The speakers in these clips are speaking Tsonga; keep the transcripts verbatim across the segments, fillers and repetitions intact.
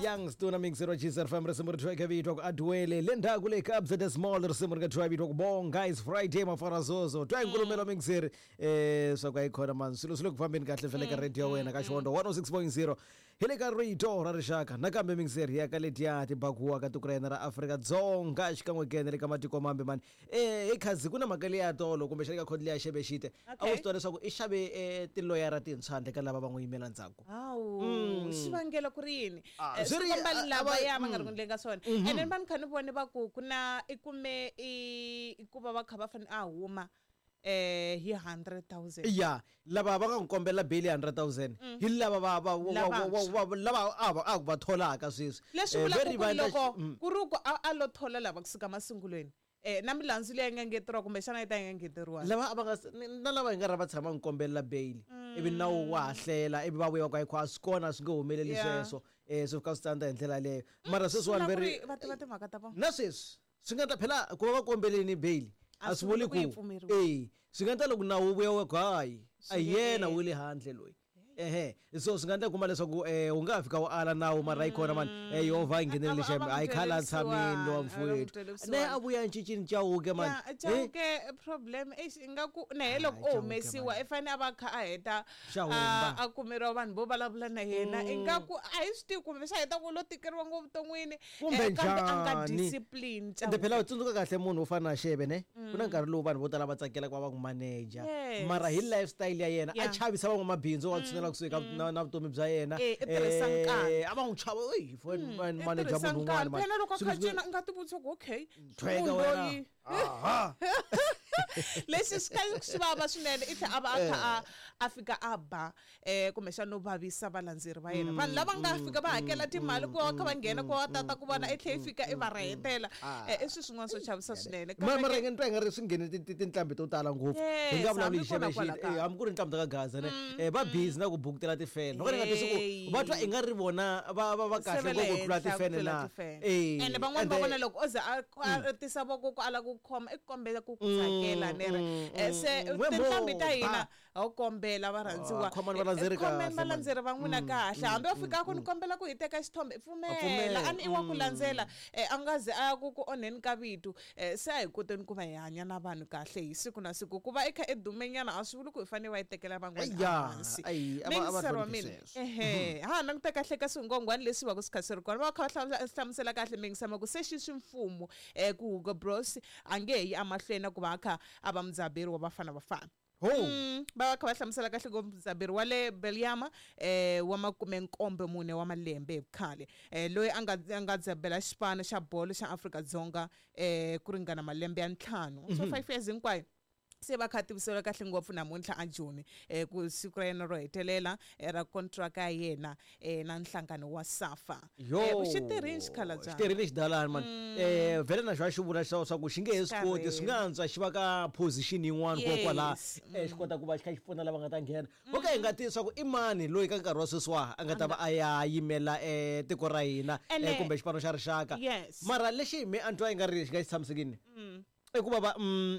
Young Stone mixer wa G S F M, risimu ri thweke vito ku Adwele. Le ndzhaku le ka Abza the Small, risimu ri nga thwa vito ku Bonga. Is Friday, mafara zozo twa nkulumelo mixer eh swa ku ayikhona man, swilo swi le ku fambeni kahle fele ka radio ya wena ka Xihondzo one oh six point zero, hi le ka Rito ra Rixaka. Nakambe mixer ya ka letiya tibakuwa ka tiko ra hina ra Afrika-Dzonga, xikan'we kene le ka matiko mambe mani. eh hi khazi ku na mhaka leya tolo kumbexana ka khodi leya xebexite, a wu Okay. swi tiva leswaku i xave eh, tiloyara tintshwa handle ka lava va n'wi yimela ndzhaku? Hawu, xivangelo ku ri yini? Ah, Eh, swi ri- swi komba a- a lava va- ya va nga ri mm. ku endleni ka swona. And then va ni kha ni vone va ku ku na i kume i i ku va va kha va fanele a huma eh hi hundred thousand. Ya, lava va nga n'wi kombela bail ya hundred thousand hi lava va va va- Lavantshwa. va- va- lava a va a ku va tholaka sweswi. Leswi Eh, vulaka ve ri ku va endla- loko mm. ku ri ku a a lo thola lava kusuka masungulweni, eh na milandzu leyi nga ngeteriwa, kumbexana yi ta yi nga ngeteriwa. Lava a va nga s- ni- na lava hi nga ra va tshama n'wi kombelela bail, ivi nawu wa ha hlela, ivi va vuya va ku ayikho a swi kona, swi nge humeleli. Yeah. Sweswo um swi fika swi tsandza hi ndlela yaleyo, mara sweswiwani Swi ve vula ri ku ri va tiva timhaka ta vona. Na sweswi swi nga ta phela ku va va kombeleni bail A a swi swi vuli vuli ku yi ku pfumeriwa. E swi nga endla loko nawu wu vuya wa ku hayi, a Swi hi nge yena endli. wu le handle loyi. Ehe, so swi nga endla kuma leswaku um wu nga ha fika wu ala nawu, mara yi kona mani, um Yehovha yi nghenelele. A va- a Xem va a yi n'wi khala twele tshamini lowa vusiwana, a va n'wi mfowethu twele ne vusiwana. a vuya ncincini Chauke mani. Ya, Chauke problem eish, ingaku na he loko Ah, o Chauke, humesiwa man. i fane a va kha a heta Xa humba. a a kumeriwa vanhu vo vulavula na yena, ingaku a hi swi tivi kumbe xa heta ku lo tikeriwa ngopfu vuton'wini. Kumbe eh, kambe a nga njhani? discipline. Ende phela u tsundzuka kahle munhu wo fana na Xeve ne, ku na nkarhi lowu vanhu vo tala va tsakela ku va va n'wi manager, Yes. mara hi lifestyle ya yena a Yeah. chavisa van'wamabindzu wa tshunela kusuhi ka na na vutomi bya yena. Eh, i tirhisa Eh, nkarhi. a va n'wi chava eyi I manager tirhisa munhu un'wana nkarhi. man. Phela loko a Swilo kha swi- cina, u nga tivutisa ku okay, Thweka munhu wena. loyi Aha. lexi swi kha swi vava swinene, i tlhela a va a kha a a fika a ba um kumbexana no vavisa valandzeri va yena, vanhu lava nga fika va hakela timali ku va kha va nghena ku va tata ku vona, i tlhela i fika i va rahetela. Ah. Eh, i swilo swin'wana swo chavisa swinene. Ma- Kambe mara ke- hi nga ni twa hi nga ri swi nghene ti- ti- tinqambi to tala ngopfu. Hi nga Yes, vulavuli hambi hi kona xeve kwala xi kaya. hambi ku ri nqambi ta ka Gaza ne, eh, va busy na ku bukutela tifene, loko ni nga twisi ku Hey. va twa i nga ri vona va va va Se kahle va le ngopfu ku tlula henhla ku tifene tlula na tifene. Eh, Ene van'wani va ende- vona loko o ze a a tisa voko ku ala ku khoma, i kombela ku ku tsakela ne ri. Eh, se mm. We tinqambi ta mo, hina ba. ha wu kombela varhandziwa. Ah, khomani valandzeri Eh, khomeni kahle, man. valandzeri va n'wina kahle. Hambi va fika ku ni kombela ku hi teka xithombe, pfumela. Pfumela. A ni i wa ku landzela, eh, a nga ze a ya ku ku onheni ka vito. Eh, se a hi koteni ku va hi hanya na vanhu kahle hi siku na siku. Ku va i kha i dumenyana a swi vuli ku hi fanele va yi tekela van'wana Eya, ehansi. ayi, a va- a va Mingiseri wa hloniphi mina, sweswo. ehe, ha languta kahle ka swingongwani leswi va ku swi kha swi ri kona, va kha va hla- hlamusela kahle mingisama ku se xi swi mfumo um ku Hugo Bros a nge he yi emahlweni na ku va a kha a va mudzaberi wa Bafana Bafana. Ho. Mm, va va kha va hlamusela kahle ku mudzaberi wa le Belgium eh wa makumenkombe mune wa malembe hi vukhale, eh loyi a nga a nga dzabela xipano xa bolo xa Afrika-Dzonga eh ku ringana malembe ya ntlhanu, so five years hinkwayo, se va kha tivisela kahle ngopfu namuntlha a Joni eh ku siku ra yena ro hetelela eh, ra contract ya yena eh na nhlangano wa SAFA. Yo. Eh, xi tirhini xikhalabya. Xi tirhile xidalani mani. Eh vhele na xo xi vula swa swa ku xi nge he swi koti, swi nga antswa xi va ka position yin'wana Yes. kokwala eh xi kota ku va xi kha xi pfuna lava nga ta nghena. Okay, hi nga tivi swa ku i mani loyi ka nkarhi wa sweswiwa a nga ta va a ya yimela eh tiko ra hina Ene- eh, kumbe xipano xa rixaka. Yes. Mara lexi mi a ni twa i nga ri xi nga xi tshamisekini i ku va va mm,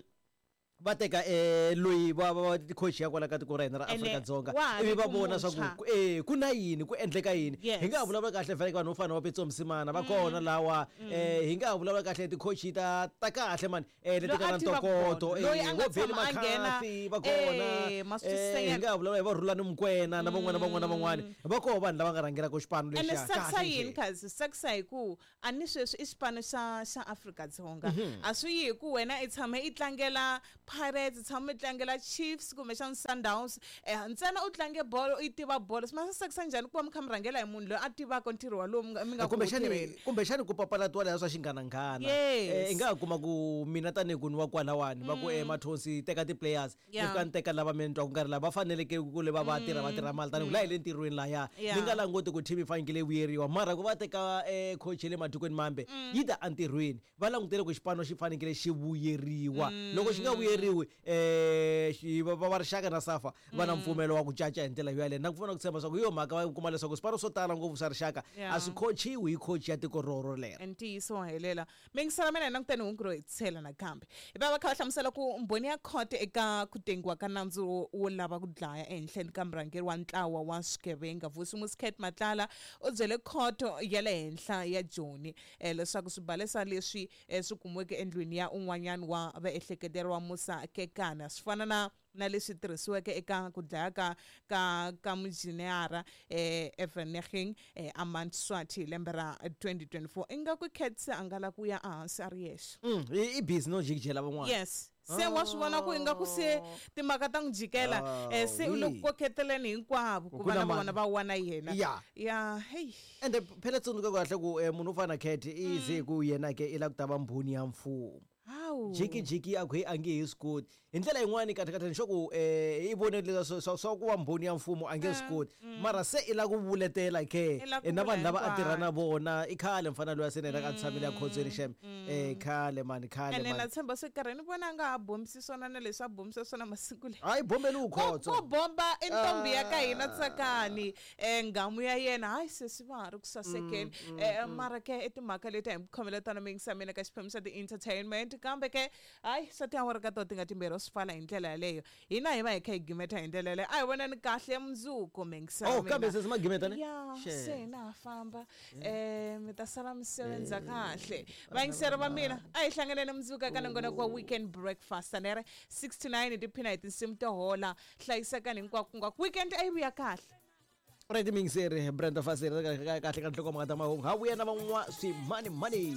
va teka eh loyi va va va coach ya kwala ka tiko ra hina ra Ene Afrika-Dzonga, wa ha ivi ri va ku vona swa ku muntshwa. ku- eh ku na yini, ku endleka yini. Yes. Hi nga ha vulavula kahle vhele ka vanhu vo fana na va Petso Msimana va kona lawa, eh hi nga ha vulavula kahle ti-coach ta ta kahle mani, eh leti Loyi nga a na tivaka ntokoto, bolo, loyi eh a nga vo Benny tshama a nghena, McCarthy va kona, eh, ma swi eh twisisa hi nyana. nga ha vulavula hi va Rhulani Mokwena na van'wana van'wana van'wana, va koho vanhu lava nga rhangelaka xipano Ene lexiya swi tsakisa kahle yini nje. khazi, swi tsakisa hi ku a ni sweswi i xipano xa xa Afrika-Dzonga, a swi yi hi ku wena i tshame i tlangela Pirates, i tshame i tlangela Chiefs kumbexana Sundowns, eh ntsena u tlange bolo, i tiva bolo. Swi ma swi tsakisa njhani ku va mi kha mi rhangela hi munhu loyi a tivaka ntirho walowu mi nga mi nga ku wu Kumbexani tirheni? Kumbexani ku papalatiwa leya swa xinghananghana. Yes. Eh, i nga ha kuma ku mina tanihi ku ni wa kwalawani va ku eh Mathonsi, teka ti-players, ni Yeah. fika ni teka lava mi ni twa ku nga ri lava va faneleke ku le va va tirha va tirha mali tanihi ku laha hi le ntirhweni lahaya. Yeah. Ni nga languti ku team yi fanekele yi vuyeriwa, mara ku va teka eh coach ya le matikweni mambe yi ta entirhweni, va langutele ku xipano xi fanekele xi vuyeriwa. Loko xi nga vuyeriwi pfumeriwi um va rixaka na safa va na mpfumelo wa ku caca hi ndlela yaleyo na ku pfuna ku tshemba swa ku hi yo mhaka va kuma leswaku swipano swo tala ngopfu swa rixaka a swi khochiwi hi coach ya tiko roro lero. Ntiyiso wa helela mingisela mina hi languteni hungu ro hetisela nakambe hi va va kha va hlamusela ku mbhoni ya khoto eka ku tengiwa ka nandzu wo lava ku dlaya ehenhleni ka murhangeri wa ntlawa wa swigevenga Vusi Muscat Matlala u byele khoto ya le henhla ya Joni eh, leswaku swibalesa leswi eh, swi kumiweke endlwini ya un'wanyana wa vaehleketeriwa Musa Kekana swi fana na na leswi tirhisiweke eka ku dlaya ka ka ka mujiniyara eh Eveneging eh, Amand Swati lembe ra twenty twenty-four ingaku Cat a nga la ku ya ehansi a ri yexe. Mm, i busy no jikijela van'wana. Yes. Se wa swi vona ku ingaku se timhaka ta n'wi jikela eh se u le ku koketeleni hinkwavo ku va na vona va wana yena. Ya hey. Ende phela tsundzuka kahle ku munhu u fana Cat i ze ku yena ke i la ku ta va mbhoni ya mfumo. Jiki jiki a ku a nge he swi koti hi ndlela yin'wani kahle kahle ni sure ku i vone leswi swa swa ku va mbhoni ya mfumo a nge swi koti mara se i la ku vuletela ke na vanhu lava a tirha na vona i khale mfana loyi a se na a tshamile a khotsweni xem eh khale mani khale mani ene na tshemba se karhi ni vona nga ha bombisi swona na leswi a bombisa swona masiku leyi hayi bombeli u khotso ku bomba i ntombi ya ka hina Tsakani eh ngamu ya yena hayi se swi va ha ri ku sasekeni mara ke i timhaka leti a hi khomela tona mingisa mina ka xiphemu xa ti-entertainment kambe ke hayi swa tiawara ka to ti nga timbirhi swi fala hi ndlela yaleyo hina hi va hi kha hi gimeta hi ndlela yaleyo a hi vonani kahle mundzuku mingisa oh kambe se ma gimeta ne ya se na ha famba eh mi ta sala mi sebenza kahle vayingiseri va mina a hi hlanganeni mundzuku ka nongonoko wa weekend breakfast anere six to nine tiphina hi tinsimu to hola hlayisekani hinkwako hinkwako weekend a yi vuya kahle. Right mingiseri Brenda Fassie kahle ka nhlokomhaka ta mahungu ha vuya na van'wa swimani mani.